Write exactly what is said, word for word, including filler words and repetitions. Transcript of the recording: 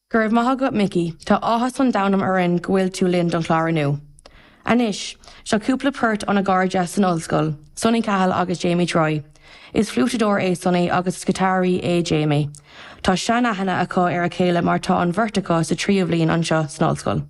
Go raibh maith agat Mickey, Tá áthas an domhain orainn go bhfuil tú linn don chlár inniu. Anois, seo cúpla port óna gcairde san ollscoil, Sonny Cahill agus Jamie Troy. Is fliútadóir é Sonny agus is giotáraí é Jamie. Tá seanaithne acu ar a chéile mar tá an bheirt acu sa tríú bliain anseo san ollscoil.